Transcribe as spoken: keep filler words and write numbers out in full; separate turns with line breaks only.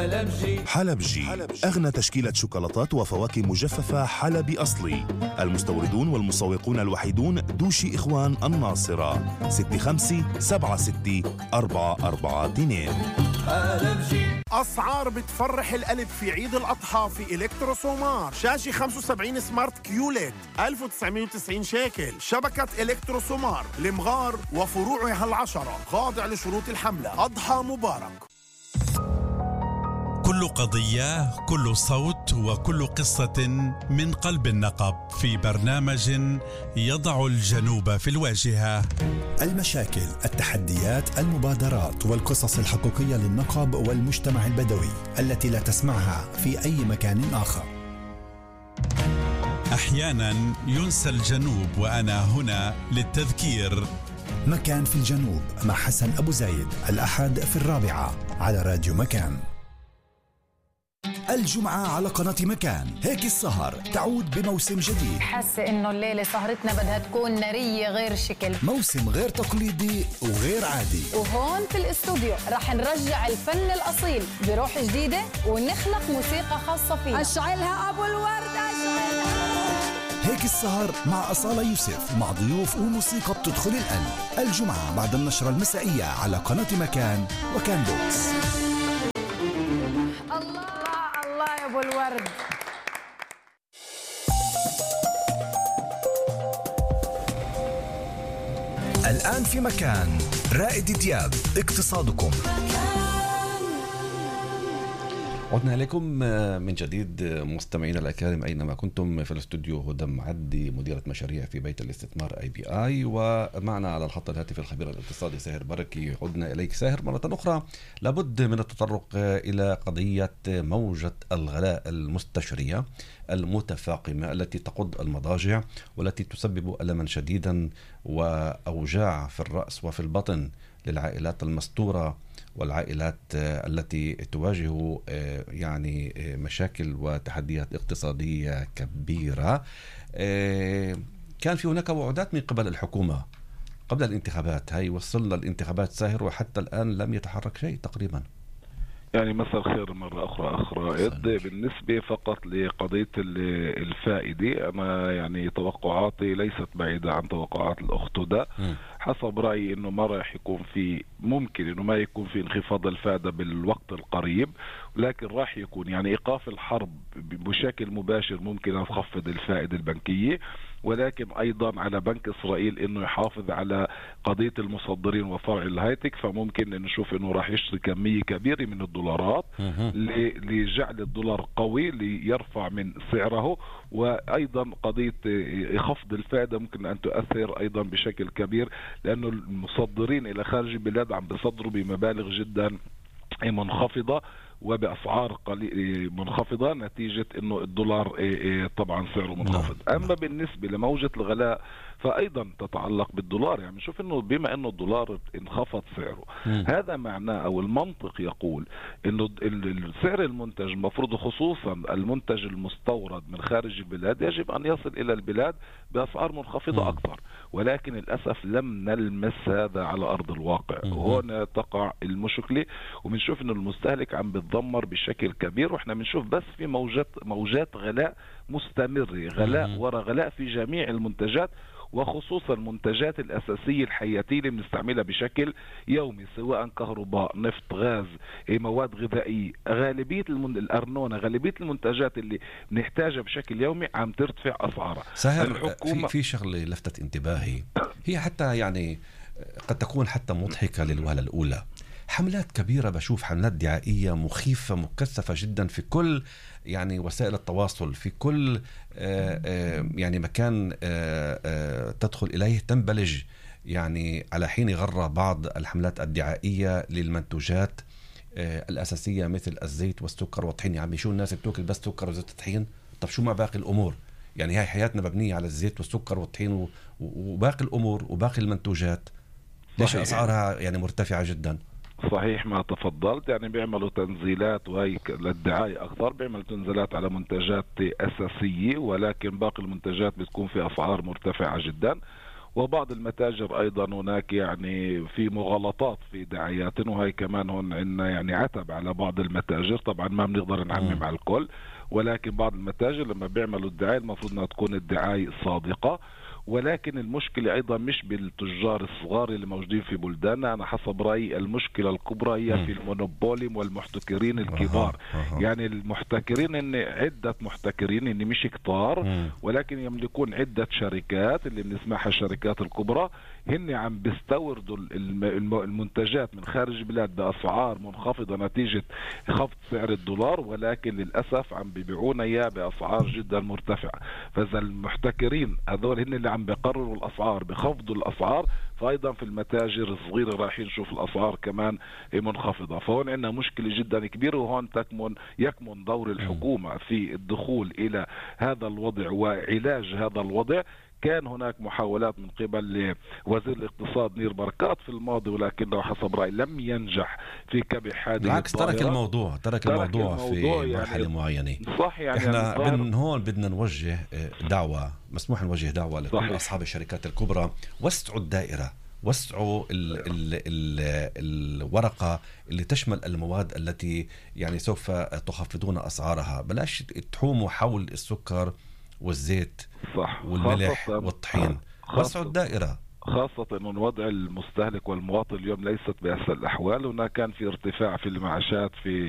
حلبجي. حلبجي أغنى تشكيلة شوكولاتات وفواكه مجففة حلبي أصلي. المستوردون والمسوقون الوحيدون دوشي إخوان الناصرة. ستة خمسة سبعة ستة أربعة أربعة اثنين. حلبجي.
أسعار بتفرح القلب في عيد الأضحى في إلكترو سومار. شاشة خمسة وسبعين سمارت كيوليد ألف وتسعمية وتسعين شيكل. شبكة إلكترو سومار لمغار وفروعها العشرة، خاضع لشروط الحملة. أضحى مبارك.
كل قضية، كل صوت، وكل قصة من قلب النقب في برنامج يضع الجنوب في الواجهة.
المشاكل، التحديات، المبادرات والقصص الحقيقية للنقب والمجتمع البدوي التي لا تسمعها في أي مكان آخر.
أحيانا ينسى الجنوب، وأنا هنا للتذكير.
مكان في الجنوب مع حسن أبو زايد، الأحد في الرابعة على راديو مكان. الجمعة على قناة مكان هيك السهر تعود بموسم جديد.
حاسة إنه الليلة سهرتنا بدها تكون نارية غير شكل،
موسم غير تقليدي وغير عادي.
وهون في الاستوديو رح نرجع الفن الأصيل بروح جديدة ونخلق موسيقى خاصة فيه. أشعلها أبو الورد، أشعلها.
هيك السهر مع أصالة يوسف، مع ضيوف وموسيقى بتدخل القلب. الجمعة بعد النشرة المسائية على قناة مكان وكان بوكس.
أبو الورد.
الآن في مكان رائد دياب، اقتصادكم.
عدنا إليكم من جديد مستمعينا الأكارم أينما كنتم. في الاستوديو هدى معدي، مديرة مشاريع في بيت الاستثمار اي بي اي، ومعنا على الخط الهاتفي الخبير الاقتصادي ساهر بركي. عدنا إليك ساهر مرة أخرى. لابد من التطرق إلى قضية موجة الغلاء المستشرية المتفاقمة التي تقض المضاجع والتي تسبب ألما شديدا وأوجاع في الرأس وفي البطن للعائلات المستورة والعائلات التي تواجه يعني مشاكل وتحديات اقتصادية كبيرة. كان في هناك وعودات من قبل الحكومة قبل الانتخابات، هاي وصلنا الانتخابات ساهر وحتى الآن لم يتحرك شيء تقريبا.
يعني مساء الخير مرة أخرى أخ رائد. بالنسبة فقط لقضية الفائدة، أنا يعني توقعاتي ليست بعيدة عن توقعات الأخت هدى. حسب رأيي إنه ما راح يكون في، ممكن إنه ما يكون في انخفاض الفائدة بالوقت القريب، لكن راح يكون يعني إيقاف الحرب بشكل مباشر ممكن أن تخفض الفائدة البنكية، ولكن أيضا على بنك إسرائيل إنه يحافظ على قضية المصدرين وفرع الهايتك، فممكن نشوف إنه راح يشتري كمية كبيرة من الدولارات لجعل الدولار قوي ليرفع من سعره. وأيضا قضية خفض الفائدة ممكن أن تؤثر أيضا بشكل كبير، لأنه المصدرين إلى خارج البلاد عم بيصدروا بمبالغ جدا منخفضة وبأسعار منخفضة نتيجة أنه الدولار طبعا سعره منخفض. أما بالنسبة لموجة الغلاء فأيضا تتعلق بالدولار. يعني نشوف أنه بما أنه الدولار انخفض سعره، م. هذا معناه أو المنطق يقول أنه السعر المنتج المفروض، خصوصا المنتج المستورد من خارج البلاد، يجب أن يصل إلى البلاد بأسعار منخفضة م. أكثر، ولكن للأسف لم نلمس هذا على أرض الواقع. م. هنا تقع المشكلة، وبنشوف أنه المستهلك عم بتدمر بشكل كبير، وإحنا بنشوف بس في موجات موجات غلاء مستمرة، غلاء م. وراء غلاء في جميع المنتجات، وخصوصا المنتجات الأساسية الحياتية اللي بنستعملها بشكل يومي، سواء كهرباء، نفط، غاز، مواد غذائية. غالبية المن... الأرنونة، غالبية المنتجات اللي بنحتاجها بشكل يومي عم ترتفع أسعارها.
ساهر، الحكومة... في في شغلة لفتت انتباهي، هي حتى يعني قد تكون حتى مضحكة للوهلة الأولى. حملات كبيرة، بشوف حملات دعائية مخيفة مكثفة جدا في كل يعني وسائل التواصل، في كل آآ آآ يعني مكان آآ آآ تدخل إليه تنبلج يعني على حين غرة بعض الحملات الدعائية للمنتوجات الأساسية مثل الزيت والسكر والطحين. يعني شو الناس بتوكل بس سكر وزيت الطحين؟ طب شو ما باقي الأمور؟ يعني هاي حياتنا مبنية على الزيت والسكر والطحين وباقي الأمور وباقي المنتوجات، ليش أسعارها يعني مرتفعة جدا؟
صحيح ما تفضلت. يعني بيعملوا تنزيلات وهي للدعاية أكثر، بيعملوا تنزيلات على منتجات أساسية، ولكن باقي المنتجات بتكون في أسعار مرتفعة جدا. وبعض المتاجر أيضا هناك يعني في مغالطات في دعايات، وهي كمان هون عندنا يعني عتب على بعض المتاجر. طبعا ما بنقدر نعمم على الكل، ولكن بعض المتاجر لما بيعملوا الدعاية المفروض انها تكون الدعاية صادقة. ولكن المشكلة أيضا مش بالتجار الصغار اللي موجودين في بلداننا، أنا حسب رأيي المشكلة الكبرى هي في المونوبوليم والمحتكرين الكبار. أه. أه. يعني المحتكرين إن عدة محتكرين إن مش كتار، مم. ولكن يملكون عدة شركات اللي بنسمعها الشركات الكبرى، هن عم بيستوردوا المنتجات من خارج البلاد بأسعار منخفضة نتيجة خفض سعر الدولار، ولكن للأسف عم بيبيعونا إياه بأسعار جدا مرتفعة. فإذا المحتكرين هذول هن اللي عم بيقرروا الأسعار بخفضوا الأسعار، فأيضا في المتاجر الصغيرة رايحين نشوف الأسعار كمان منخفضة. فهون عندنا مشكلة جدا كبيرة، وهون تكمن يكمن دور الحكومة في الدخول إلى هذا الوضع وعلاج هذا الوضع. كان هناك محاولات من قبل وزير الاقتصاد نير بركات في الماضي، ولكنه حسب رأيي لم ينجح في كبح هذه
بالعكس ترك الموضوع ترك, ترك الموضوع, الموضوع في يعني مرحلة معينة.
صح. يعني
احنا من هون بدنا نوجه دعوة، مسموح نوجه دعوة لكل صحيح. أصحاب الشركات الكبرى، وسعوا الدائرة، وسعوا ال ال ال الورقة اللي تشمل المواد التي يعني سوف تخفضون أسعارها. بلاش تحوموا حول السكر والزيت صح. والملح والطحين، وسعوا الدائرة.
خاصة أن وضع المستهلك والمواطن اليوم ليست بأسهل الأحوال. هناك كان في ارتفاع في المعاشات في